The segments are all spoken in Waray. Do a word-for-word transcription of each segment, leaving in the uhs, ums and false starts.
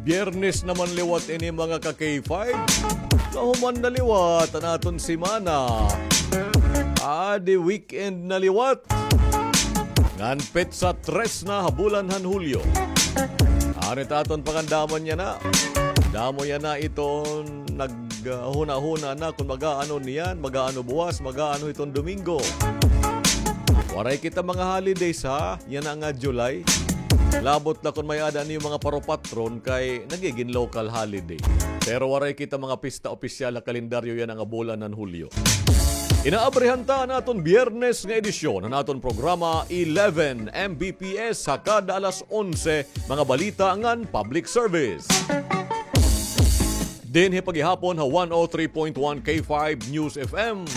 Biyernes naman liwat ini, mga ka-K five. Nahuman na liwat an aton semana. Adi weekend na liwat. Ngan petsa tres na ha bulan han Hulyo. Ano it aton pangandamon yana? Damo yana iton naghunahuna na kon mag-aano niyan, mag-aano buwas, mag-aano hiton Domingo. Waray kita mga holidays, ha? Yana nga July. Labot na kon may-ada niyo mga paropatron kay nagigin local holiday. Pero waray kita mga pista opisyal ha kalendaryo yana nga bulan han Hulyo. Inaabrihan ta an aton Biyernes nga edisyon han aton programa eleven M B P S ha kada alas onse, mga balita ngan public service. Dinhi pa gihapon ha one oh three point one K five News F M.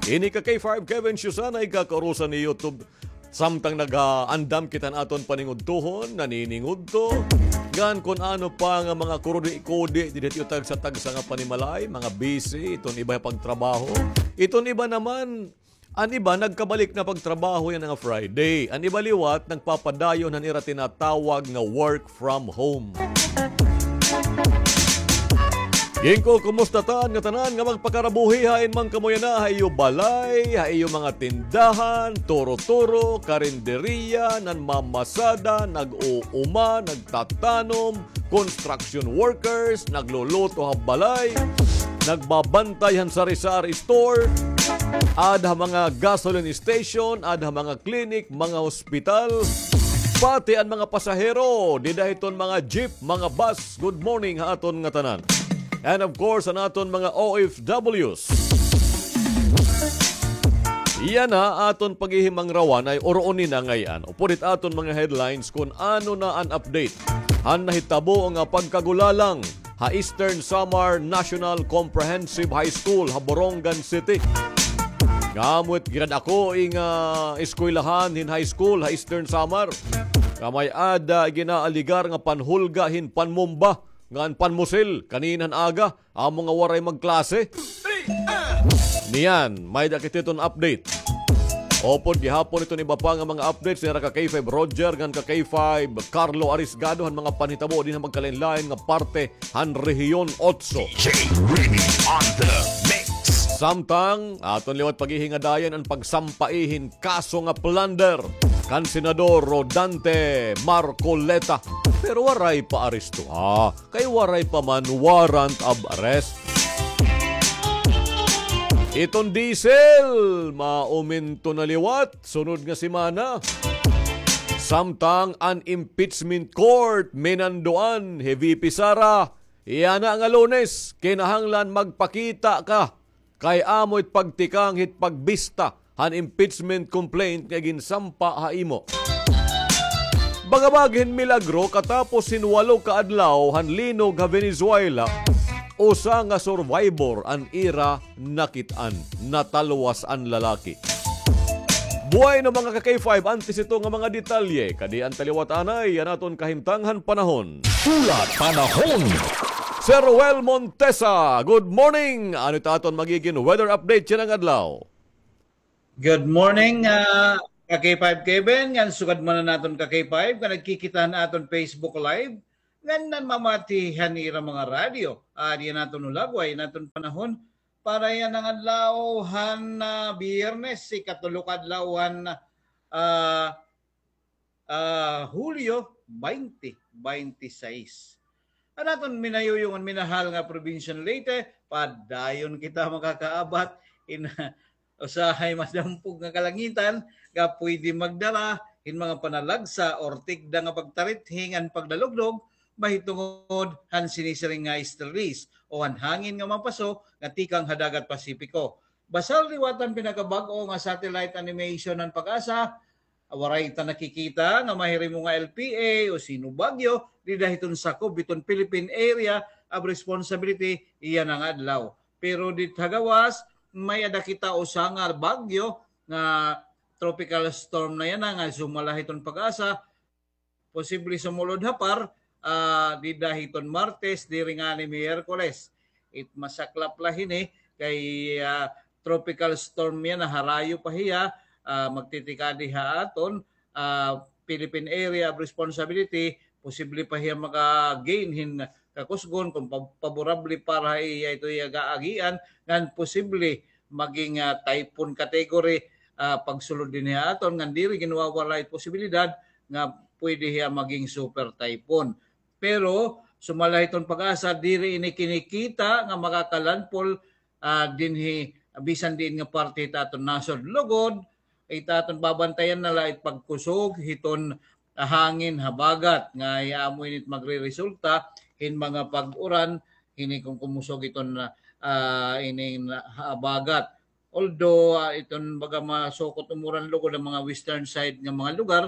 Ini ka K five Kevin Siusana, igkakaurusan ni YouTube. Samtang nagaandam kita han aton paningudtohon, naniningudto. Ngan kon ano pa nga mga kurudi-kudi, didi hiton tagsa-tagsa nga panimalay, mga busy, iton iba pagtrabaho. Iton iba naman, an iba nagkabalik na pagtrabaho yana nga Friday. An iba liwat, nagpapadayon han ira tinatawag nga work from home. Ginkukumusta ta an ngatanan nga magpakarabuhi hain man kamo yana, ha iyo balay, ha iyo mga tindahan, turo-turo, karinderiya, nanmamasada, nag-uuma, nagtatanom, construction workers, nagluluto ha balay, nagbabantay han sari-sari store, aada ha mga gasoline station, aada ha mga clinic, mga hospital, pati an mga pasahero, dida hiton mga jeep, mga bus. Good morning ha aton ngatanan. And of course, an aton mga O F Ws. Yana aton paghihimangrawan hay uroon ni na ngay-an. Upod hit aton mga headlines kon ano na an update han nahitabo nga pagkagulalang ha Eastern Samar National Comprehensive High School ha Borongan City. Nga amo it ginad-ako nga eskwelahan hin high school ha Eastern Samar nga may-ada ginaaligar nga panhulga hin panmumba ngan panmusil kanina han aga, amo nga waray magklase. Niyan, may-ada kita hiton update. Upod gihapon iton iba pa nga mga updates nira ka K five Roger ngan ka K five Carlo Arisgado han mga panhitabo dinhi ha magkalain-lain nga parte han Rehiyon Otso. D J Rini on the mix. Samtang aton liwat paghihingadayan an pagsampai hin kaso nga plunder kan Senador Rodante Marcoleta. Pero waray pa aresto, ha? Kay waray pa man warrant of arrest. Iton diesel, maumento na liwat sunod nga semana. Samtang an impeachment court minanduan hi V P Sara, yana nga Lunes, kinahanglan magpakita ka kay amo it pagtikang hit pagbista han impeachment complaint nga ginsampa ha imo. Bangabag hin milagro, katapos hin walo ka adlaw han linog ha Venezuela, usa nga survivor an ira nakit-an, natalwas an lalaki. Bueno, mga ka-K five, antes ito nga mga detalye, kadi an taliwat anay an aton kahimtang han panahon. Hulat panahon. Sir Ruel Montesa, good morning. Ano it aton magigin weather update yana nga adlaw? Good morning, ah, ka-K five Kevin, ngan sugad man an aton ka-K five nga nagkikita han aton Facebook Live, ngan nanmamati han ira mga radyo. Ah, diyan aton hulagway an aton panahon para yana nga adlaw han, ah, Biyernes, ikatulo ka adlaw han, ah, ah, Hulyo twenty twenty-six. An aton minayuyong ngan minahal nga probinsya han Leyte, padayon kita makakaabat hin usahay madampog nga kalangitan nga pwede magdala hin mga panalagsa or tikda nga pagtarithing an pagdalugdog mahitungod han sinisiring nga easterlies o han hangin nga mapaso nga tikang ha Dagat Pasipiko. Basal liwat an pinakabag-o nga satellite animation han PAGASA, waray ta nakikita nga mahirimo nga L P A o sino bagyo dida hiton sakob hiton Philippine Area of Responsibility yana nga adlaw. Pero dida ha gawas, may-ada kita usa nga bagyo nga tropical storm na yana nga sumala hiton PAGASA, posible sumulod ha PAR, ah, dida hiton Martes, diri ngani Miyerkules. It masaklap la hini kay, ah, tropical storm yana, harayo pa hiya, ah, magtitikadi ha aton, ah, Philippine Area of Responsibility, posible pa hiya maka-gain hin kakusgon kon pa-, paborable para ha iya ito iya gaagian, ngan posible maging, ah, typhoon category, ah, pagsulod dinhi ha aton, ngan diri ginwawara it posibilidad nga pwede hiya maging super typhoon. Pero sumala hiton PAGASA, diri ini kinikita nga makaka-landfall, ah, dinhi bisan diin nga parte hit aton nasod. Lugod, it aton babantayan na la it pagkusog hiton, ah, hangin habagat nga amo ini it magreresulta hin mga pag-uran hini kon kumusog iton, ah, ining habagat. Although, ah, iton baga masukot umuran lugod an mga western side nga mga lugar,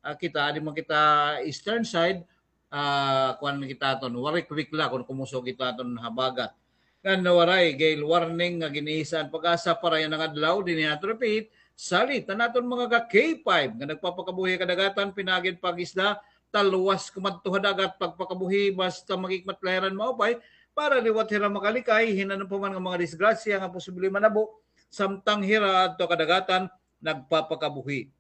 ah, kita, adi man kita eastern side, ah, kuan kita aton, waray kwik la kon kumusog ito aton habagat. Ngan waray gale warning nga gin-iisa an PAGASA para yana nga adlaw, dinhi aton repeat, salit an aton mga ka-K five nga nagpapakabuhi ha kadagatan, pinaagi hin pag-isda, talwas kumadto ha dagat, pagpakabuhi, basta maghikmat la hira hin maupay, para liwat hira makalikay hin ano pa man nga mga disgrasya nga posible manabo, samtang hira adto ha kadagatan nagpapakabuhi.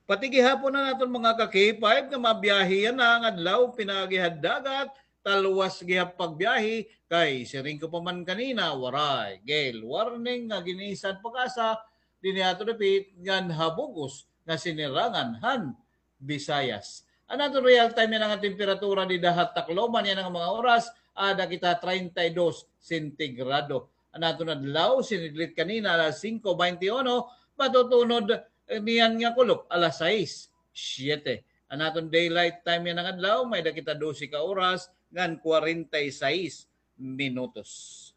Pati gihapon an aton mga ka-K five nga mabiyahe yana nga adlaw, pinaagi ha dagat, talwas gihap pagbiyahe, kay siring ko pa man kanina, waray gale warning nga gin-iisa an PAGASA, dinhi aton repeat, ngan ha bug-os nga sinirangan han Visayas. An aton real time yana nga temperatura dida ha Tacloban yana nga mga oras, aada kita treinta y dos sentigrado. An aton adlaw, sinidlit kanina alas singko baynte uno, matutunod, eh, niyan nga kulop alas sais, siyete. An aton daylight time yana nga adlaw, may-ada kita dose ka oras ngan kwarenta y sais minutos.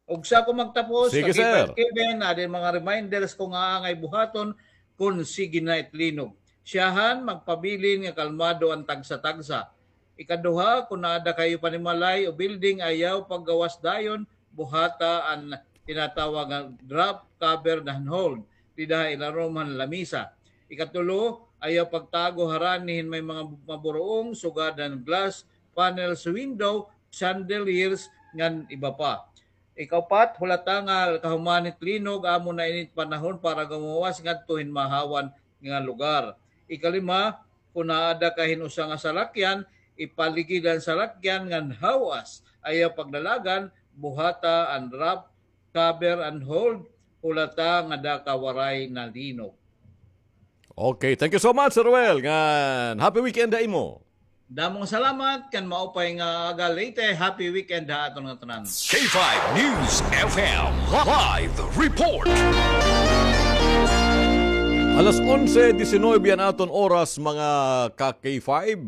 Ugsa ko magtapos, Sige, K five sir. Kevin, adi mga reminders ko nga angay buhaton kon sige na it linog. Siyahan, magpabilin nga kalmado an tagsa-tagsa. Ikaduha, kon aada kayo panimalay o building, ayaw paggawas dayon, buhata an tinatawag nga drop, cover, and hold dida ha ilarom han lamisa. Ikatulo, ayaw pagtago harani hin may mga maburuong, sugad han glass, panels, window, chandeliers, ngan iba pa. Ikaupat, hulata nga kahuman hit linog, amo na ini it panahon para gumuwas ngadto hin mahawan nga lugar. Ikalima, kon aada ka hin usa nga salakyan, ipaligid an salakyan ngan hawas. Ayaw pagdalagan, buhata an wrap, cover and hold, hulata nga ada ka waray na linog. Okay, thank you so much, Sir Ruel. Ngan happy weekend ha imo. Damo nga salamat, kan maupay nga aga, Leyte. Happy weekend ha aton nga tanan. K five News F M live report. Alas onse diecinueve an aton oras, mga ka K five.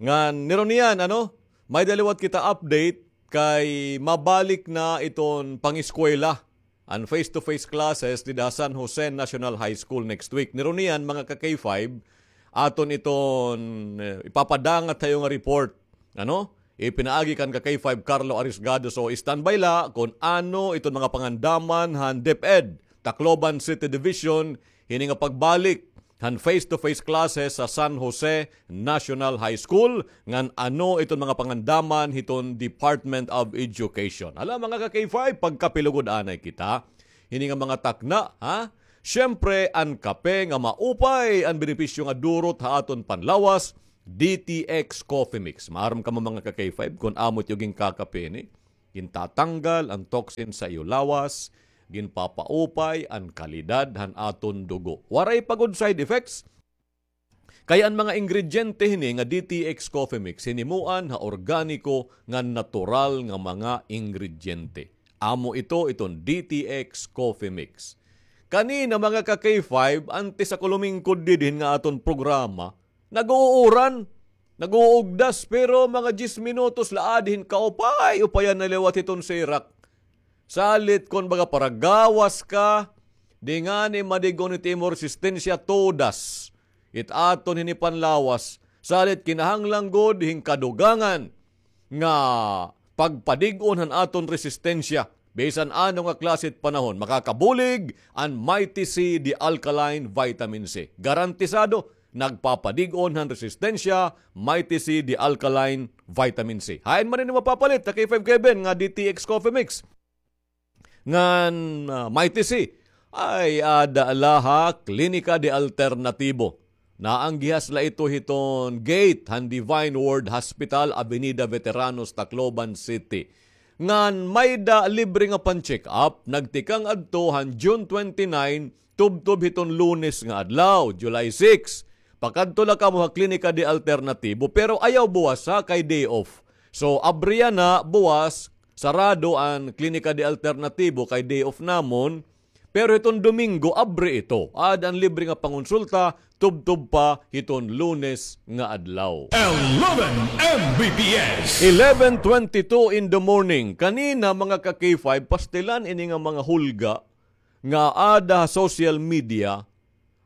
Ngan nirunian, ano, may-ada liwat kita update kay mabalik na iton pangeskwela an face-to-face classes dida ha San Jose National High School next week. Nirunian, mga ka K five, aton iton, eh, ipapadangat ha iyo nga report. Ano? Ipinaagi kan ka K five Carlo Arisgado. So, standby la kon ano iton mga pangandaman han DepEd, Tacloban City Division, hini nga pagbalik han face-to-face classes sa San Jose National High School, ngan ano iton mga pangandaman hiton Department of Education. Hala, mga ka K five, pagkapilugod anay kita hini nga mga takna, ha? Siyempre, an kape nga maupay an benepisyo nga durot ha aton panlawas, D T X Coffee Mix. Maaram kamo, mga ka K five, kon amo it iyo ginkakape ini. Gintatanggal an toxin sa iyo lawas, ginpapaupay an kalidad han aton dugo. Waray pa gud side effects. Kay an mga ingrediente hini nga D T X Coffee Mix, hinimuan ha organiko ngan natural nga mga ingrediente. Amo ito, iton D T X Coffee Mix. Kanina, mga ka K five, antes ako lumingkod didin nga aton programa, nag-uuran, nag-uugdas, pero mga diyes minutos la adi hin kaupay-upayan na liwat hiton sirak. Salit kon baga paragawas ka, di ngani madig-on it imo resistensya, todas it aton hini panlawas. Salit kinahanglan gud hin kadugangan nga pagpadig-on han aton resistensya. Bisan ano nga klase it panahon, makakabulig an Mighty C, the alkaline vitamin C. Garantisado, nagpapadig-on han resistensya, Mighty C, the alkaline vitamin C. Hain man ini mapapalit, ka K five Kevin, nga D T X Coffee Mix ngan, ah, Mighty C? Ay, aada la ha Klinika de Alternatibo. Naanggihas la ito hiton gate han Divine Word Hospital, Avenida Veteranos, Tacloban City. Ngan may-ada libre nga pan-check-up, nagtikang adto han June twenty-nine, tubtob hiton Lunes nga adlaw, July six. Pakadto la kamo ha Klinika de Alternativo, pero ayaw buwas ha, kay day off. So, abri yana buwas, sarado an Klinika de Alternativo kay day off namon. Pero hiton Domingo, abri ito. Aada an libre nga pangonsulta, tubtob pa hiton Lunes nga adlaw. Eleven M B P S. Eleven twenty-two in the morning. Kanina, mga ka-K five, pastilan ini nga mga hulga nga aada ha social media,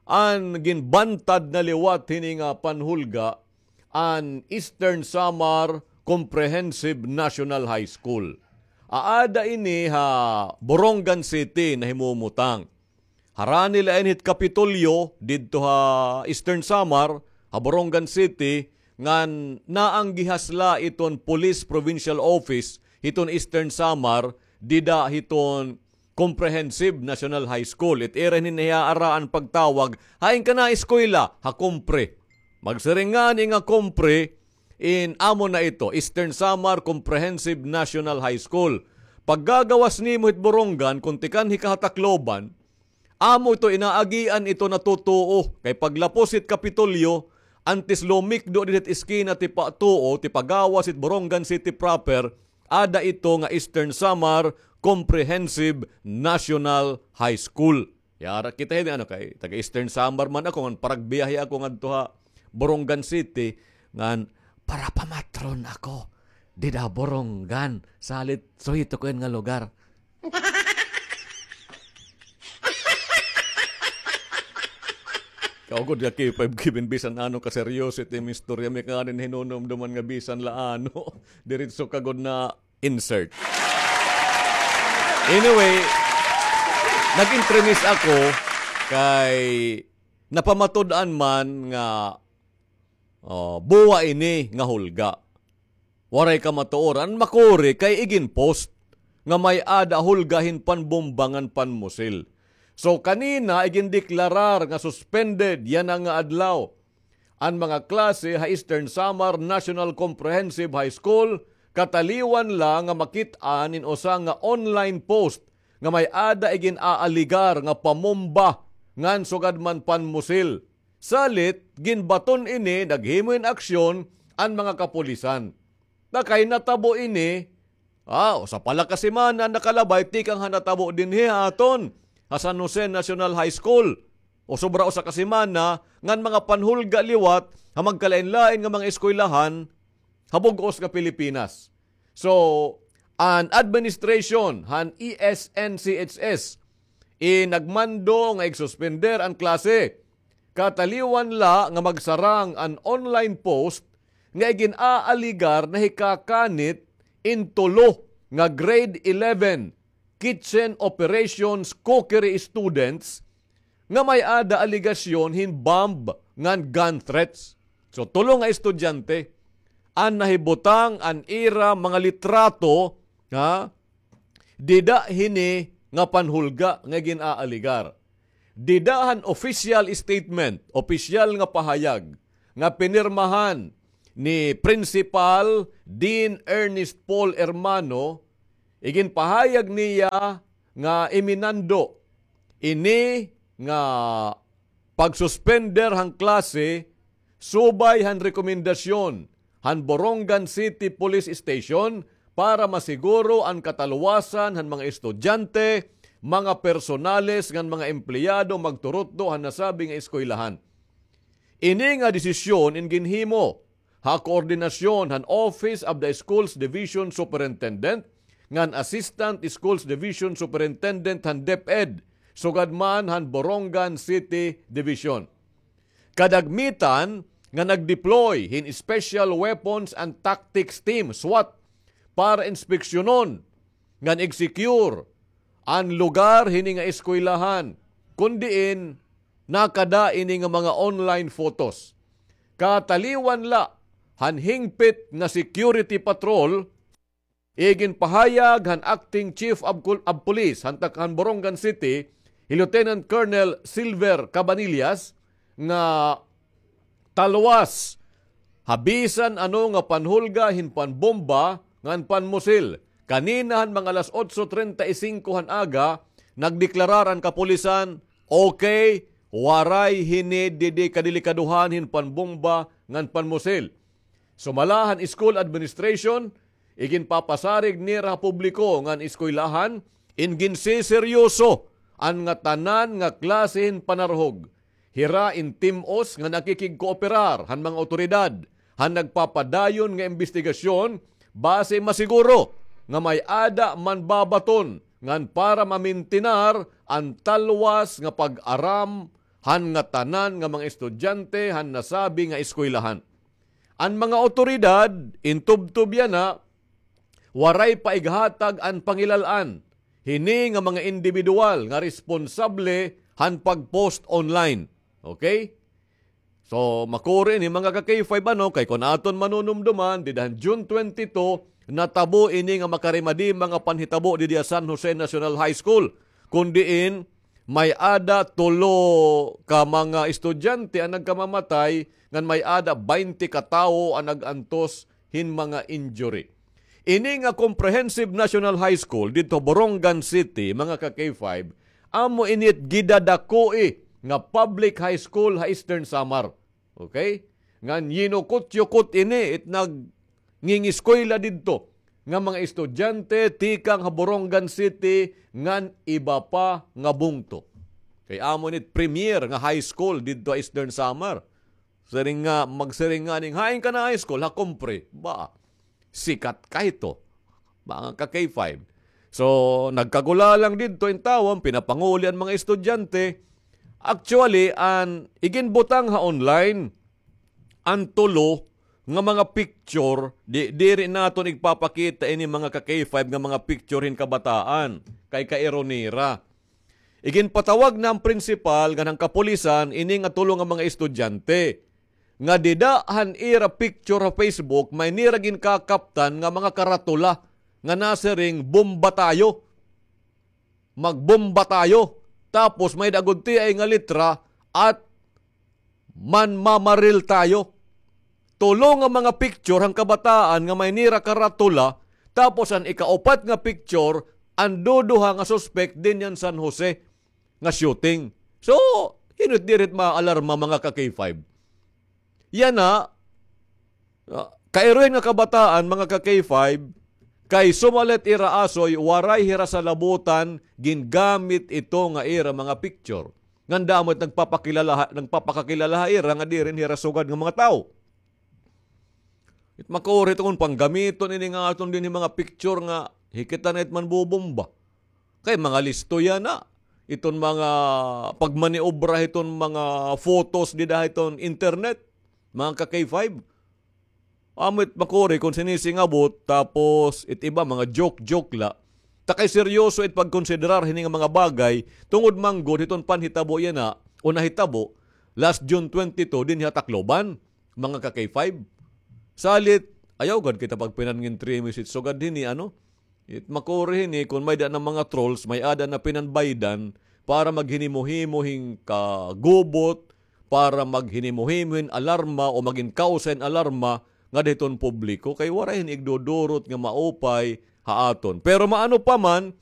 an ginbantad na liwat hini nga panhulga, an Eastern Samar Comprehensive National High School. Aada ini ha Borongan City nahimumutang. Harani la ini hit Kapitolyo didto ha Eastern Samar, ha Borongan City, ngan naanggihas la iton Police Provincial Office hiton Eastern Samar, dida hiton Comprehensive National High School. It ira hini nahiaara an pagtawag, hain kana eskwela, ha Compre. Magsiring ngani nga Compre, in amo na ito, Eastern Samar Comprehensive National High School. Paggagawas nimo hit Borongan, kon tikanhi ka ha Tacloban, amo ito, inaagian ito natutuo. Kay paglapos hit Kapitolyo, antes lumikdo dida hit eskina tipatuo, tipagawas hit Borongan City proper, ada ito nga Eastern Samar Comprehensive National High School. Yara kita hini, ano, kay taga Eastern Samar man ako, ngan paragbiyahe ako ngadto ha Borongan City, ngan parapamatron ako dida Borongan, salit suhito ko in nga lugar. Kaugod nga K five Kevin, bisan ano kaseryoso it im istorya, may kanin hinunumduman nga bisan la ano, diretso ka gud na insert. Anyway, nag-intrimis ako kay napamatud-an man nga, oh, buwa ini nga hulga. Waray kamatuoran, makuri kay igin-post nga may-ada hulga hin panbomba ngan panmusil. So, kanina igindeklarar nga suspended yana nga adlaw an mga klase ha Eastern Samar National Comprehensive High School, kataliwan la nga makit-an in usa nga online post nga may-ada igin-aaligar nga pamomba ngan sugad man panmusil. Salit, ginbaton ini, naghimo hin aksyon an mga kapulisan. Ta kay natabo ini, ah, usa pa la ka semana nakalabay tikang ha natabo dinhi ha aton, ha San Jose National High School. O sobra usa ka semana, ngan mga panhulga liwat ha magkalain-lain nga mga eskwelahan ha bug-os nga Pilipinas. So, an administration han E S N C H S, eh, nagmando nga igsuspender an klase. Kataliwan la nga magsarang an online post nga igin-aaligar nahikakanit in tulo nga grade eleven kitchen operations cookery students nga may-ada alegasyon hin bomb ngan gun threats. So, tulo nga estudyante an nahibutang an ira mga litrato, ha, dida hini nga panhulga nga gin-aaligar. Dida han official statement, opisyal nga pahayag nga pinirmahan ni Principal Dean Ernest Paul Hermano, iginpahayag niya nga iminando ini nga pagsuspender han klase subay han rekomendasyon han Borongan City Police Station para masiguro an kataluwasan han mga estudyante, mga personales ngan mga empleyado magturutdo han nasabi nga eskwelahan. Ini nga desisyon in ginhimo ha koordinasyon han Office of the Schools Division Superintendent ngan Assistant Schools Division Superintendent han DepEd, sugad man han Borongan City Division. Kadagmitan nga nag-deploy hin Special Weapons and Tactics Team, SWAT, para inspeksyonon ngan i-secure an lugar hini nga eskwelahan, kon diin nakada ini nga mga online photos. Kataliwan la han hingpit nga security patrol, iginpahayag han Acting Chief of Col-, of Police han tak-, han Borongan City, hi Lieutenant Colonel Silver Cabanillas, nga talwas ha bisan ano nga panhulga hin panbomba ngan panmusil. Kanina han mga alas otso treinta y cinco han aga, nagdeklarar an kapulisan, okay, waray hini didi kadelikadohan hin panbomba ngan panmusil. Sumala han school administration, iginpapasarig nira ha publiko ngan eskwelahan, in ginseseryoso an ngatanan nga klase hin panarhog. Hira in tim-os nga nakikigkooperar han mga awtoridad han nagpapadayon nga imbestigasyon basi masiguro nga may-ada man babaton ngan para mamintinar an talwas nga pag-aram han ngatanan nga mga estudyante han nasabi nga eskwelahan. An mga awtoridad, in tubtob yana, waray pa ighatag an pangilal-an hini nga mga indibidwal nga responsable han pag-post online. Okay? So, makuri ini, mga ka-K five, ano, kay kon aton manunumduman, dida han June twenty-two, natabo ini nga makarimadi mga panhitabo didi ha San Jose National High School. Kun diin, may-ada tulo ka mga estudyante an nagkamamatay, ngan may-ada baynte ka tawo an nag-antos hin mga injury. Ini nga Comprehensive National High School didto Borongan City, mga ka-K five, amo ini it gidadakoi nga public high school ha Eastern Samar. Okay? Ngan yinukot-yukot ini it nagngingeskwela didto nga mga estudyante tikang ha Borongan City ngan iba pa nga bungto. Kay amo ini it premier nga high school didto ha Eastern Samar. Siring nga, magsiring nga ning, "Hain ka na high school?" "Ha Compre." Ba, sikat ka ito, mga ka-K five. So, nagkagulalang didto in tawo, pinapanguli an mga estudyante. Actually, an iginbutang ha online, an tulo nga mga picture, di, diri naton igpapakita ini, mga ka-K five, nga mga picture hin kabataan. Kay kairo nira. Iginpatawag na han prinsipal ngan han kapulisan ini nga tulo nga mga estudyante nga dida han ira picture ha Facebook, may nira ginkakaptan nga mga karatula nga nasiring, "Bomba tayo. Magbomba tayo." Tapos may-ada gud tiay nga litra, "At manmamaril tayo." Tulo nga mga picture han kabataan nga may nira karatula, tapos an ikaupat nga picture, an duduha nga suspek dinhi han San Jose nga shooting. So, hin-o it diri it maalarma, mga ka-K five? Yana, ah, kairohin nga kabataan, mga ka-K five, kay sumalit ira asoy, waray hira salabutan, gingamit ito nga ira mga picture. Ngan damo it nagpapakilala ha, nagpapakakilala ha ira nga diri hira sugad nga mga tawo. It makuri ito kon panggamiton ini nga aton dinhi mga picture nga hikit na it manbobomba. Kay mga listo yana. Iton mga pagmaniobra hiton mga photos dida hiton internet, mga ka-K five. Amo it makuri kon sinisingabot, tapos it iba mga joke-joke la. Ta kay seryoso it pagkonsiderar hini nga mga bagay, tungod man gud hiton panhitabo yana, o nahitabo, last June twenty-two, dinhi ha Tacloban, mga ka-K five. Salit, ayaw gad kita pagpinangintrimis it sugad hini, ano? It makuri hini, kon may-ada na mga trolls, may-ada na pinanbaydan para maghinimo-himo hin kagubot, para maghinimo-himo hin alarma o magin kawsa hin alarma ngada hiton publiko, kay waray hini igdudurot nga maupay ha aton. Pero maano pa man,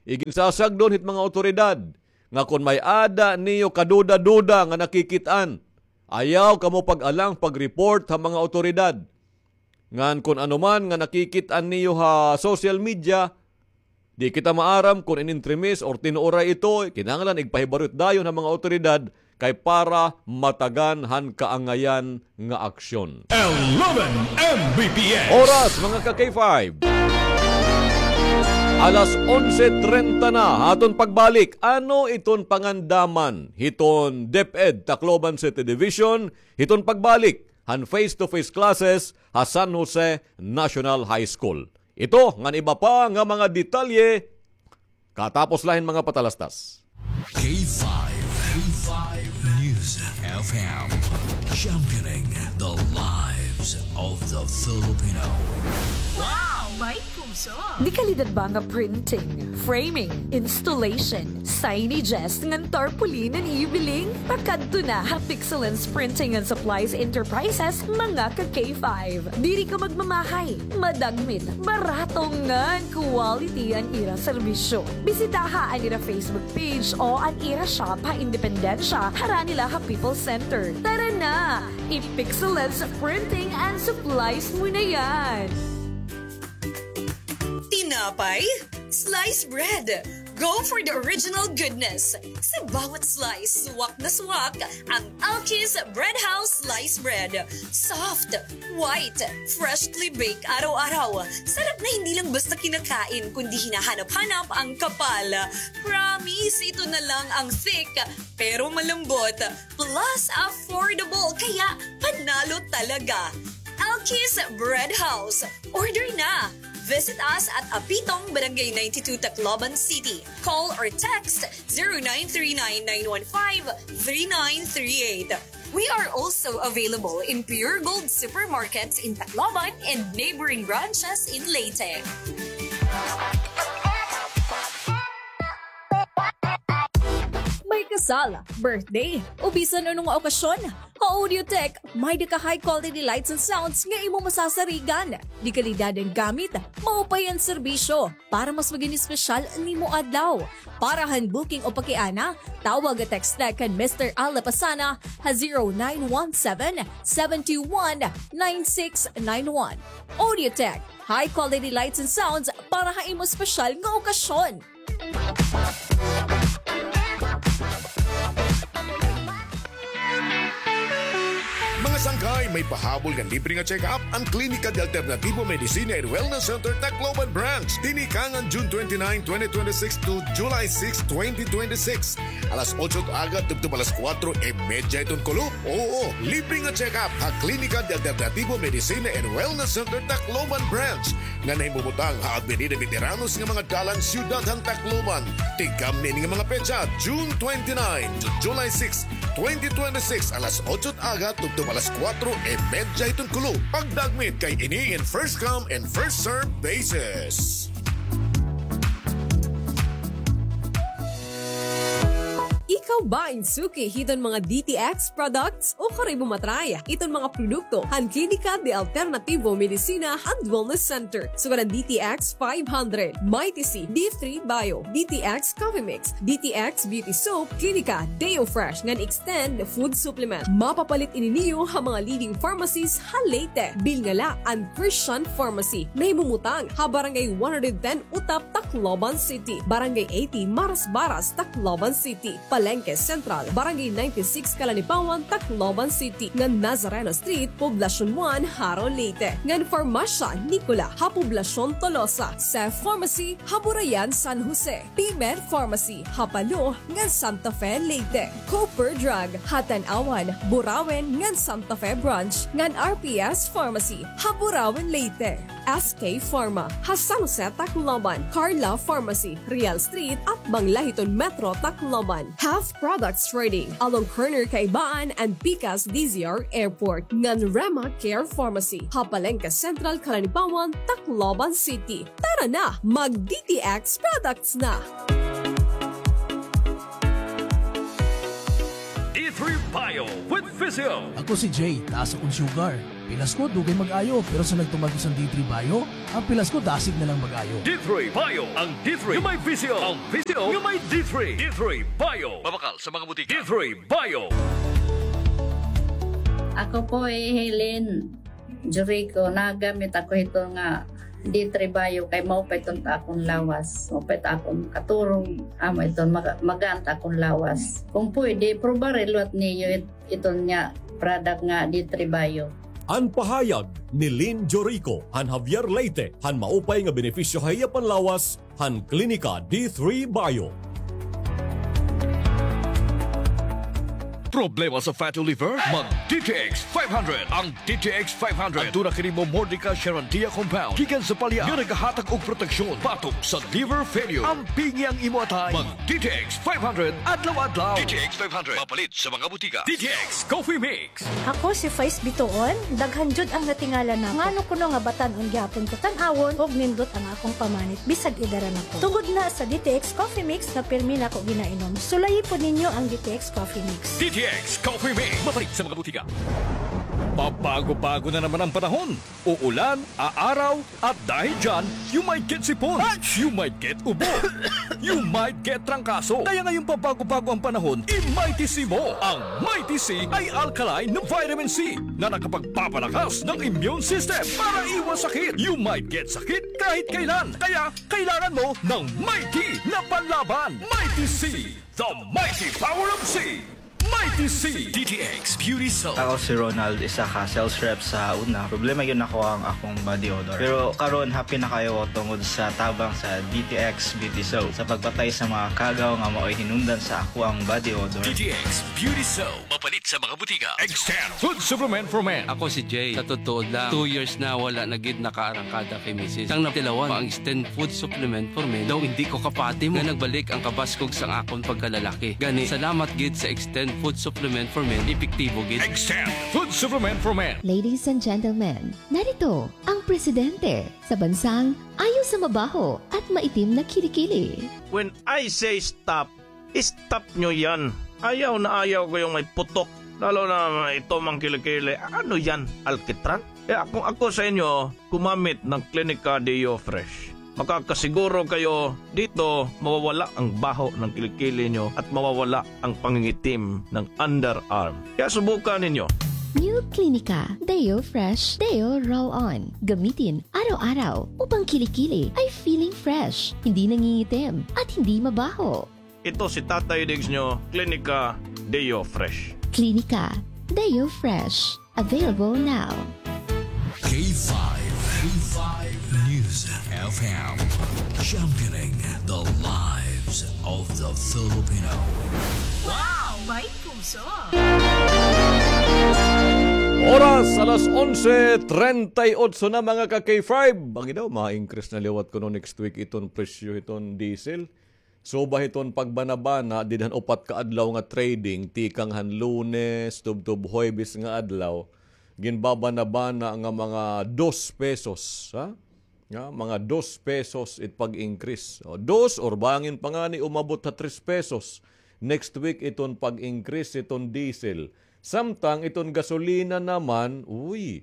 iginsasagdon hit mga awtoridad nga kon may-ada niyo kaduda-duda nga nakikit-an, ayaw kamo pag-alang pag-report ha mga awtoridad. Ngan kon ano man nga nakikit-an niyo ha social media, di kita maaram kon inintrimis or tinuoray ito, kinahanglan igpahibaru't dayon ha mga awtoridad kay para matagan han kaangayan nga aksyon. Eleven M B P S. Oras, mga ka-K five. Alas onse treinta na, aton pagbalik. Ano iton pangandaman hiton DepEd Tacloban City Division, hiton pagbalik han face-to-face classes ha San Jose National High School. Ito ngan iba pa nga mga detalye katapos la hin mga patalastas. K five, K five News F M, championing the lives of the Filipino. Wow! May puso. Dekalidad ba nga printing, framing, installation, signages, ngan tarpaulin an ibiling? Pakadto na ha Pixelens Printing and Supplies Enterprises, mga ka-K five. Diri ka magmamahay, madagmit, barato ngan quality an ira serbisyo. Bisitaha an ira Facebook page o an ira shop ha Independencia, harani la ha People's Center. Tara na! I-Pixelens Printing and Supplies mo na yan! Tinapay? Slice bread! Go for the original goodness! Sa bawat slice, swak na swak ang Alki's Bread House Slice Bread. Soft, white, freshly baked araw-araw. Sarap na hindi lang basta kinakain, kundi hinahanap-hanap ang kapal. Promise, ito na lang ang thick, pero malambot. Plus, affordable, kaya panalo talaga. Alki's Bread House. Order na! Visit us at Apitong, Barangay ninety-two, Tacloban City. Call or text zero nine three nine nine one five three nine three eight. We are also available in Pure Gold supermarkets in Tacloban and neighboring branches in Leyte. May kasal, birthday, o bisan ano nga okasyon, ha Audiotech, may-ada ka high quality lights and sounds nga imo masasarigan. Dekalidad an gamit, maupay an serbisyo, para mas maging espesyal an imo adlaw. Para han booking o pakiana, tawag o text la kan Mister Al Lapasana ha zero nine one seven, seven two one, nine six nine one. Audiotech, high quality lights and sounds para ha imo espesyal nga okasyon. Mga sangkay, may pahabol ngan libre nga check-up an Klinika de Alternativo Medicina and Wellness Center, Tacloban Branch. Tinikangan June twenty-nine, twenty twenty-six to July six, twenty twenty-six. Alas otso aga tubtob alas kuwatro y medya hiton kulop. Oo, libre nga check-up ha Klinika de Alternativo Medicina and Wellness Center, Tacloban Branch, nga nahimumutang ha Avenida Veteranos nga mga dalan, Siyudad han Tacloban. Tigkamni ini nga mga petsa, June twenty-nine to July six, twenty twenty-six, alas otso aga tubtob alas kuwatro y medya hiton kulop. Pagdagmit kay ini in first come and first serve basis. Ikaw ba in suki hiton mga D T X products? O karuyag mo ma-try iton mga produkto han Klinika de Alternativo Medicina and Wellness Center, sugad han D T X five hundred, Mighty C, D three Bio, D T X Coffee Mix, D T X Beauty Soap, Klinika Deo Fresh ngan Extend Food Supplement. Mapapalit ini niyo ha mga leading pharmacies ha Leyte. Bilnga la an Christian Pharmacy, nahimumutang ha Barangay one hundred ten Utap, Tacloban City, Barangay eighty Marasbaras, Tacloban City, Palengke Central, Barangay ninety-six Calanipawan, Tacloban City, ngan Nazareno Street, Poblacion one, Jaro, Leyte, ngan Farmacia Nicola ha Poblacion Tolosa, Sef Pharmacy ha Burayan, San Jose, P-Med Pharmacy ha Palo ngan Santa Fe, Leyte, Cooper Drug ha Tanauan, Burauen ngan Santa Fe Branch, ngan R P S Pharmacy ha Burauen, Leyte. S K Pharma ha San Jose, Tacloban, Carla Pharmacy, Real Street, atbang la hiton Metro Tacloban, Half Products Trading, along corner Kaibaan and Pikas D Z R Airport, ngan Rema Care Pharmacy ha Palengke Central, Calanipawan, Tacloban City. Tara na, mag-D T X products na! D three Bio with Physio. Ako si Jay, taas akon sugar. Pilas ko, dugay mag-ayo, pero sa nagtumar ko san D three Bio, an pilas ko, dasig na lang mag-ayo. D three Bio, ang D three nga may Physio, ang Physio nga may D three. D three Bio. Mabakal sa mga butika. D three Bio. Ako po hi Helen Jurico, nagamit ako hito nga D three Bio kay maupay iton ha akon lawas, maupay it akon katurog, amo iton maga-, magaan it akon lawas. Kon pwede, probari liwat niyo it-, iton nga product nga D three Bio. An pahayag ni Lynn Jorico han Javier, Leyte, han maupay nga benepisyo ha iya panlawas han Klinika D three Bio. Problema sa fatty liver? Mag D T X five hundred. Ang D T X five hundred aduna kini momordica charandia compound gikan sa palya nga nagahatag og proteksyon batok sa liver failure. Ampingi ang imo atay. Mag D T X five hundred adlaw-adlaw. D T X five hundred, mapalit sa mga butika. D T X Coffee Mix. Ako si Faiz Bituon, daghan jud ang natingala na ngano kuno nga batan-on gihapon ko tan-awon ug nindot ang akong pamanit bisag edad na ko. Tungod na sa D T X Coffee Mix na pirmi nako ginainom. Sulayi pod ninyo ang D T X Coffee Mix. D T X Coffee Mix. Mapalit sa mga butika. Pabago-bago na naman ang panahon. Uulan, aaraw, at dahil dyan, you might get sipon, you might get ubo, you might get trangkaso. Kaya ngayong pabago-bago ang panahon, i-Mighty C mo. Ang Mighty C ay alkaline na vitamin C na nakapagpapalakas ng immune system para iwas sakit. You might get sakit kahit kailan. Kaya kailangan mo ng Mighty na panlaban. Mighty C, the mighty power of C. Mighty C. D T X Beauty Soap. Ako si Ronald, isa ka sales rep sa una. Problema gyud nako ang akong body odor. Pero karon, happy na kaayo ko tungod sa tabang sa D T X Beauty Soap sa pagpatay sa mga kagaw nga maoy hinungdan sa akoang body odor. D T X Beauty Soap. Mapalit sa mga butika. Extend Food Supplement for Men. Ako si Jay. Sa totoo lang, two years na wala na gid nakaarangkada kay misis. Sang natilawan pa ang Extend Food Supplement for Men, daw hindi ko kapati mo nga nagbalik ang kabaskog sang akon pagkalalaki. Gani, salamat gid sa Extend Food Supplement for Men, epektibo gid. Extend Food Supplement for Men. Ladies and gentlemen, narito ang presidente sa bansang ayaw sa mabaho at maitim na kilikili. When I say stop, stop nyo yan. Ayaw na ayaw ko yung may putok. Lalo na ito mang kilikili. Ano yan? Alkitran? Kaya kung ako sa inyo, gumamit ng Clinica Deo Fresh. Makakasiguro kayo dito mawawala ang baho ng kilikili nyo at mawawala ang pangingitim ng underarm. Kaya subukan ninyo. New Clinica Deo Fresh Deo Roll On. Gamitin araw-araw upang kilikili ay feeling fresh, hindi nangingitim, at hindi mabaho. Ito si Tatay Diggs nyo, Clinica Deo Fresh. Clinica Deo Fresh. Available now. K five, K five News F M, championing the lives of the Filipino. Wow! May puso! Oras, alas onse treinta y ocho na, mga ka-K five. Bangin daw, ma-increase na liwat kuno next week iton presyo hiton diesel. Suba hiton pagbanabana, dida han upat ka adlaw nga trading, tikang han Lunes, tubtob Huwebes nga adlaw, ginbabanabana nga mga dos pesos, ha? Nga, mga dos pesos it pag-increase. O, dos or bangin pa ngani umabot ha tres pesos next week iton pag-increase iton diesel. Samtang iton gasolina naman, uy,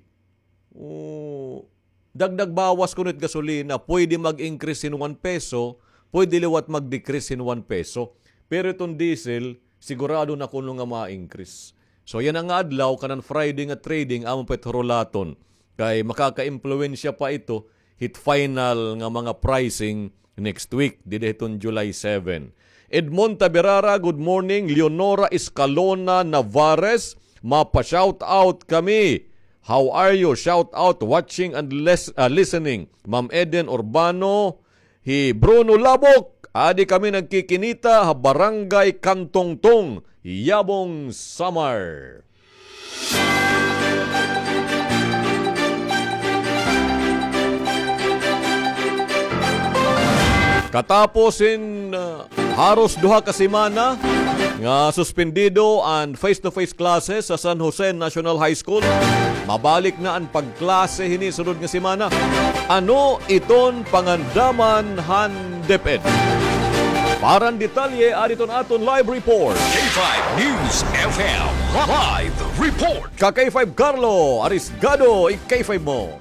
o, dagdag bawas kuno it gasolina, pwede mag-increase hin one peso, pwede liwat mag-decrease hin one peso. Pero iton diesel, sigurado na kuno nga ma-increase. So, yana nga adlaw, kanan Friday nga trading, amon pa it hurulaton. Kay makakaimpluwensya pa ito hit final nga mga pricing next week, dida hiton July seven. Edmond Taberara, good morning. Leonora Escalona Navarez, mapa-shout out kami. How are you? Shout out, watching and les-, ah, listening. Ma'am Eden Urbano, hi Bruno Labok, adi kami nagkikinita ha Barangay Kantongtong, Yabong, Samar. Katapos hin, uh, haros duha ka semana nga suspendido an face-to-face classes sa San Jose National High School, mabalik na an pagklase hini sunod nga semana. Ano iton pangandaman han DepEd? Para han detalye, adi iton aton live report. K five News F M live report. Ka-K five Carlo Arisgado, i-K five mo.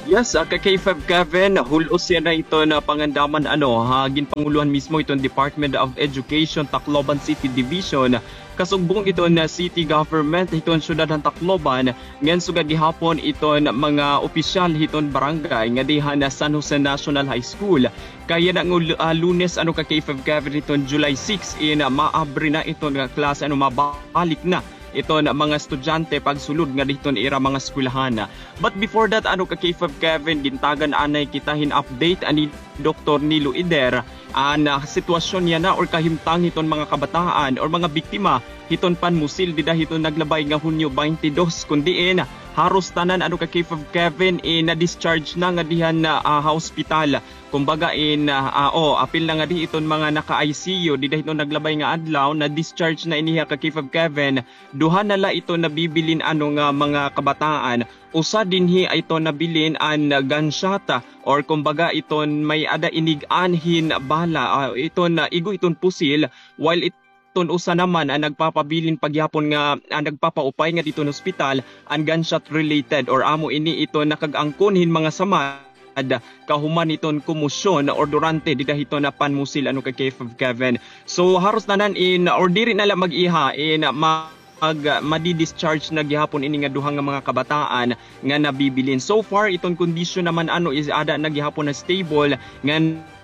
Yes, ah, ka-K five Kevin, hul-os yana iton pangandaman, ano, ha, ginpangulohan mismo iton Department of Education, Tacloban City Division, kasugbong iton, ah, city government hiton syudad han Tacloban, ngan sugad gihapon iton mga opisyal hiton barangay nga dida han, ah, San Jose National High School. Kay yana nga, ah, Lunes, ano, ka-K five Kevin, hiton July six in, ah, maabri na iton nga klase, ano, mabalik na iton mga estudyante pagsulod ngadi hiton ira mga eskwelahan. But before that, ano ka K five Kevin, gintagan anay kita hin update ani Doktor Nilo Eder, an, ah, sitwasyon yana or kahimtang hiton mga kabataan or mga biktima hiton panmusil dida hiton naglabay nga Hunyo twenty-two, kun diin haros tanan ano ka K five Kevin, eh, na-discharge na ngadi han, ah, ah, ha ospital. Kumbaga in, ah, ah, o, apil na ngadi iton mga naka-I C U dida hiton naglabay nga adlaw, na-discharge na ini ha ka K five Kevin. Duha na la iton nabibilin ano nga mga kabataan. Usa dinhi iton nabilin an gunshot, ah, or kumbaga iton may-ada inig-an hin bala, ah, iton, ah, igo iton pusil, while iton usa naman an nagpapabilin pa gihapon nga, ah, nagpapaupay ngadi hiton ospital an gunshot related or amo ini iton nakag-angkon hin mga samad kahuman hiton komosyon or durante dida hiton panmusil ano ka K five Kevin. So haros tanan in or diri na la mag-iha in mag-, madi-discharge na gihapon ini nga duha nga mga kabataan nga nabibilin. So far iton kondisyon naman ano is aada na gihapon na stable nga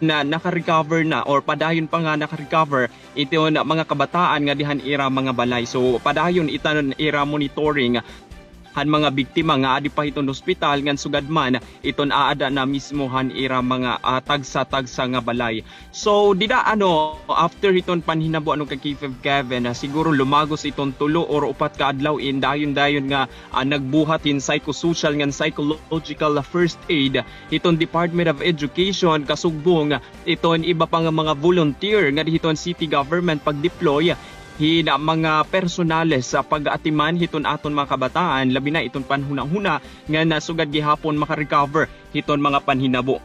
na, naka-recover na or padayon pa nga naka-recover iton mga kabataan ngadi han ira mga balay. So padayon iton ira monitoring han mga biktima nga adi pa hiton ospital ngan sugad man iton aada na mismo han ira mga, ah, tagsa-tagsa nga balay. So dida ano, after hiton panhinabo ano ka K five Kevin, ah, siguro lumagos iton tulo or upat ka adlaw in dayon-dayon nga, ah, nagbuhat hin psychosocial ngan psychological first aid hiton Department of Education kasugbong iton iba pa nga mga volunteer ngadi hiton city government pag-deploy hin mga personales sa pag-atiman hiton aton mga kabataan, labi na iton panhunahuna nga nasugad gihapon maka-recover hiton mga panhinabo.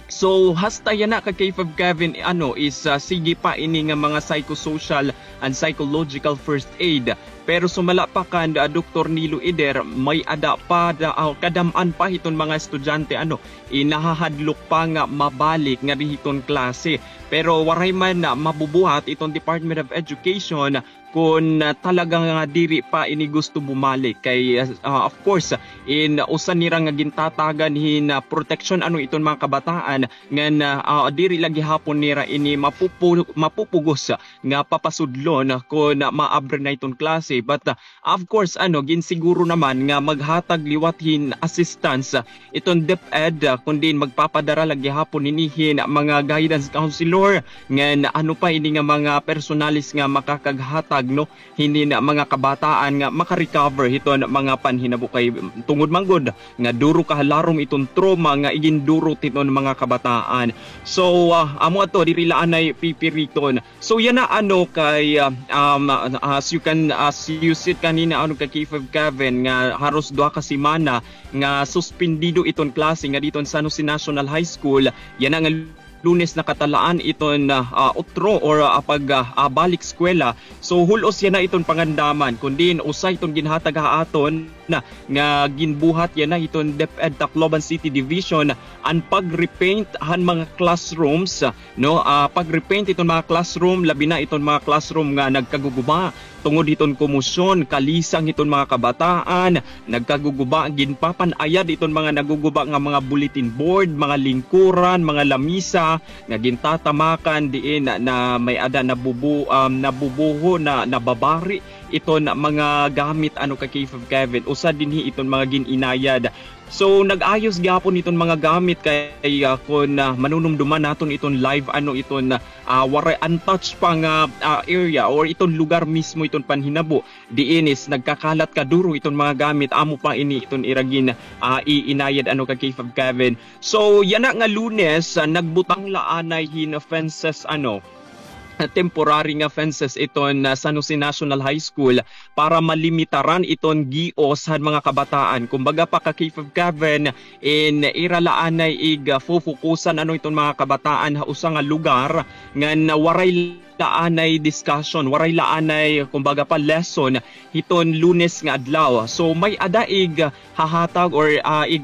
So hasta yana ka K five Kevin, ano is, ah, sige pa ini nga mga psychosocial and psychological first aid. Pero sumala pa kan, ah, Doktor Nilo Eder, may-ada pa da, ah, kadam-an pa hiton mga estudyante ano, inahahadlok pa nga mabalik ngadi hiton klase. Pero waray man, ah, mabubuhat iton Department of Education kun, ah, talaga nga diri pa ini gusto bumalik kay, ah, of course in usa nira nga gintatagan hin, ah, proteksyon ano iton mga kabataan ngan, ah, ah, diri la gihapon nira ini mapupu-, mapupugos nga papasudlon kun maabre na iton klase. But, ah, of course ano, ginsiguro naman nga maghatag liwat hin assistance iton DepEd, ah, kun diin magpapadara la gihapon hini hin mga guidance counselor ngan ano pa ini nga mga personalis nga makakaghatag, no, hini nga mga kabataan nga maka-recover hiton mga panhinabo kay tungod man gud nga duro kahalarom iton trauma nga iginduro hiton mga kabataan. So, ah, amo ato, diri la anay pipiriton. So yana ano kay, ah, um, as you can, as you said kanina ano ka K five Kevin nga haros duha ka semana nga suspendido iton klase ngadi hiton San Jose National High School, yana nga Lunes nakatalaan iton, ah, ah, utro or, ah, pag, ah, ah, balik eskwela. So hul-os yana iton pangandaman kun diin usa iton ginhatag ha aton na nga ginbuhat yana hiton DepEd Tacloban City Division an pag-repaint han mga classrooms, no, ah, pag-repaint iton mga classroom, labi na iton mga classroom nga nagkaguguba tungod hiton komosyon, kalisang hiton mga kabataan, nagkaguguba, ginpapan-ayad iton mga naguguba nga mga bulletin board, mga lingkuran, mga lamisa nga gintatamakan diin na, na may-ada nabubu-, um, nabubuho, na nababari iton mga gamit ano ka K five Kevin, usa dinhi iton mga gin-inayad. So nag-ayos gihapon iton mga gamit kay, ah, kun, ah, manunumduman naton iton live ano iton, ah, waray untouched pa nga, ah, area or iton lugar mismo iton panhinabo diin is nagkakalat kaduro iton mga gamit, amo pa ini iton ira gin, ah, iinayad ano ka K five Kevin. So yana nga Lunes, ah, nagbutang la anay hin fences ano, temporary nga fences iton, ah, San Jose National High School para malimitaran iton gios han mga kabataan. Kumbaga pa ka K five Kevin, in ira la anay ig, ah, fufukusan ano iton mga kabataan ha usa nga lugar ngan waray la anay discussion, waray la anay kumbaga pa lesson hiton Lunes nga adlaw. So may-ada ig hahatag or, ah, ig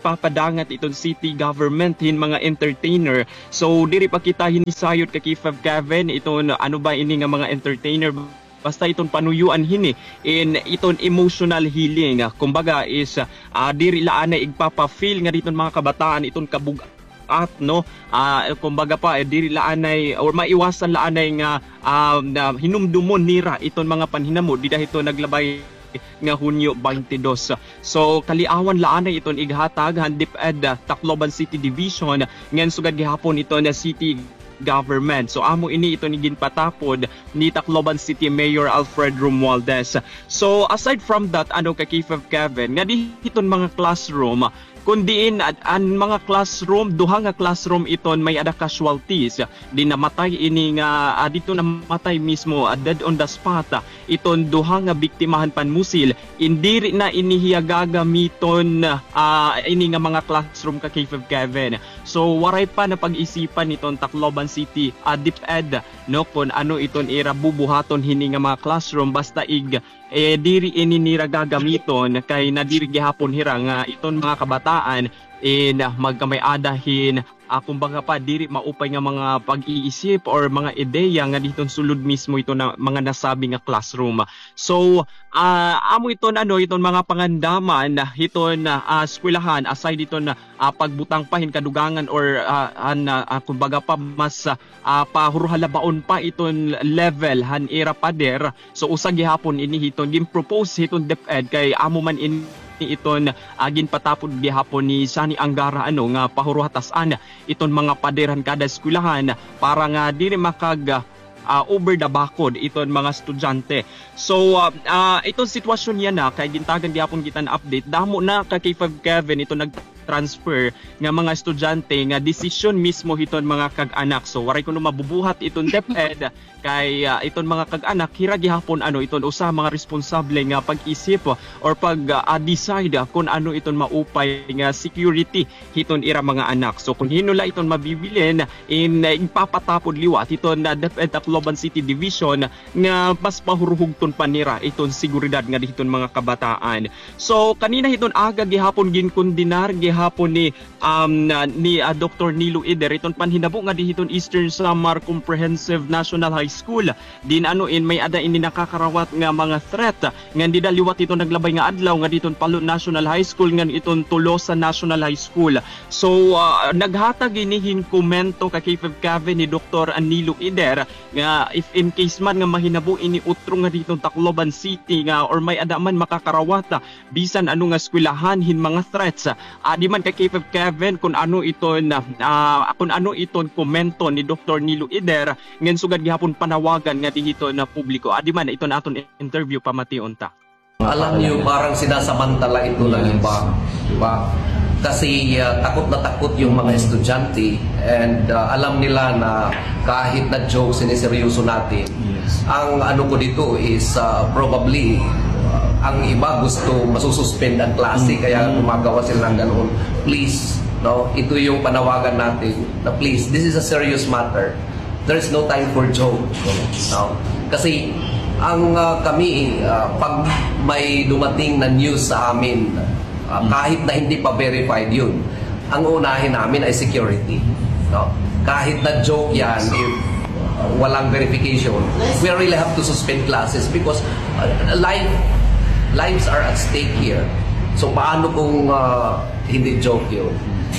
papadangat iton city government hin mga entertainer. So diri pa kita hinisayod ka K five Kevin iton ano ba ini nga mga entertainer, basta iton panuyoan hini in iton emotional healing. Kumbaga is, ah, diri la anay igpapa-feel ngadi hiton mga kabataan iton kabug-, at, no, ah, kumbaga pa, eh, diri la anay or maiwasan la anay nga, ah, na hinumdumon nira iton mga panhinamo dida hiton naglabay nga Hunyo twenty-two. So, kaliawan la anay iton ighatag han DepEd, ah, Tacloban City Division, ngan sugad gihapon iton city government. So, amo ini iton ginpatapod ni Tacloban City Mayor Alfred Romualdez. So, aside from that, ano, ka K five Kevin, nga di hiton mga classroom, kun diin, ah, an mga classroom, duha nga classroom iton may-ada casualties. Di namatay ini nga, ah, didto namatay mismo, ah, dead on the spot, ah, iton duha nga biktima han panmusil. In diri na ini hiya gagamiton, ah, ini nga mga classroom ka K five Kevin. So, waray pa napag-isipan iton Tacloban City, ah, DepEd, no, kun ano iton ira bubuhaton hini nga mga classroom, basta ig eh, diri ini nira gagamiton kay nadiri gihapon hira nga iton mga kabataan in, ah, magkamay-ada hin, ah, kumbaga pa, diri maupay nga mga pag-iisip or mga ideya nga diton sulod mismo iton na, mga nasabi nga classroom. So, ah, amo iton, ano, iton mga pangandaman hiton, ah, eskwelahan, aside diton, ah, pagbutang pa hin kadugangan or, ah, an, ah, kumbaga pa, mas, ah, ah, pahuruhalabaon pa iton level han ira pader. So, usa gihapon ini hiton gin-propose hiton DepEd kay amo man ini iton, ah, ginpatapod gihapon ni Sonny Angara, ano, nga pahuruhatas-an iton mga pader han kada eskwelahan para nga diri makag, ah, over the bakod iton mga estudyante. So, ah, ah, iton sitwasyon yana kay gintagan gihapon kita hin update. Damo na ka K five Kevin iton nag- transfer nga mga estudyante nga desisyon mismo hiton mga kag-anak. So, waray kuno mabubuhat iton DepEd kay, ah, iton mga kag-anak, hira gihapon, ano, iton usa mga responsable nga pag-isip or pag, ah, decide kun ano iton maupay nga security hiton ira mga anak. So, kun hin-o la iton mabibilin in, ah, igpapatapod liwat hiton, ah, DepEd Tacloban City Division nga mas pahuruhugton pa nira iton seguridad nga dihiton mga kabataan. So, kanina hiton aga gihapon ginkondenar gihapon ni, um, na, ni, ah, Doktor Nilo Eder iton panhinabo nga dihiton Eastern Samar Comprehensive National High School. Diin ano in may-ada ini nakakarawat nga mga threat ngan dida liwat iton naglabay nga adlaw nga dihiton Palo National High School ngan iton Tolosa National High School. So, ah, naghatag ini hin komento ka K five Kevin ni Doktor Nilo Eder nga if in case man nga mahinabo ini utro nga dihiton Tacloban City nga or may-ada man makakarawat, bisan ano nga eskwelahan hin mga threats. Adi man ka K five Kevin kun ano iton, ah, kun ano iton komento ni Doktor Nilo Eder, ngan sugad gihapon panawagan nga dihiton publiko. Adi man iton aton interview, pamation ta. Alam niyo, parang sinasamantala ito ng iba, di ba? Kasi, ah, takot na takot yung mga estudyante and, ah, alam nila na kahit na joke, siniseryoso natin. Yes. Ang ano ko dito is, ah, probably, ah, ang iba gusto masususpend ang klase, kaya gumagawa sila ng ganoon. Please, no? Ito yung panawagan natin na please, this is a serious matter. There is no time for joke. No? Kasi ang, ah, kami, ah, pag may dumating na news sa amin, ah, kahit na hindi pa verified yun, ang uunahin namin ay security. No? Kahit na joke yan, if, ah, walang verification, we really have to suspend classes because, ah, life, lives are at stake here. So paano kung, ah, hindi joke yun?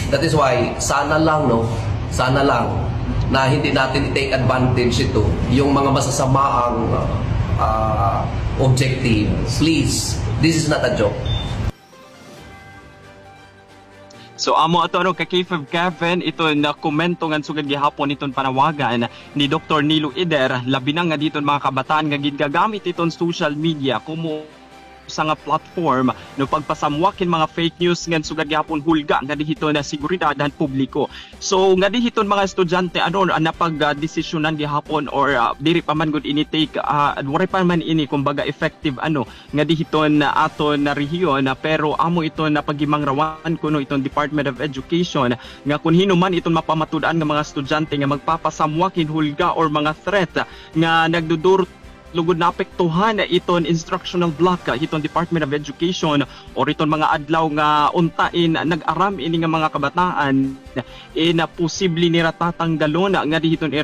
That is why, sana lang, no? Sana lang na hindi natin i-take advantage ito, yung mga masasamaang, ah, objective. Please, this is not a joke. So, amo ato, ano, ka K five Kevin, iton komento ngan sugad gihapon iton panawagan ni Doktor Nilo Eder, labi na nga diton mga kabataan nga gingagamit iton social media komo usa nga platform, no, pagpasamwak hin mga fake news ngan sugad gihapon hulga nga dihiton nga seguridad han publiko. So, nga dihiton mga estudyante, ano, ah, napag, ah, desisyonan gihapon or, ah, diri pa man gud ini take, ah, waray pa man ini, kumbaga, effective, ano, nga dihiton, ah, aton, ah, rehiyon, ah, pero amo iton, ah, paghimangrawan kuno iton Department of Education nga kun hin-o man iton mapamatud-an nga mga estudyante nga magpapasamwak hin hulga or mga threat nga nagdudurot lugod naapektuhan iton instructional block hiton Department of Education or iton mga adlaw nga unta in nag-aram ini nga mga kabataan, in posible nira tatanggalon nga dihiton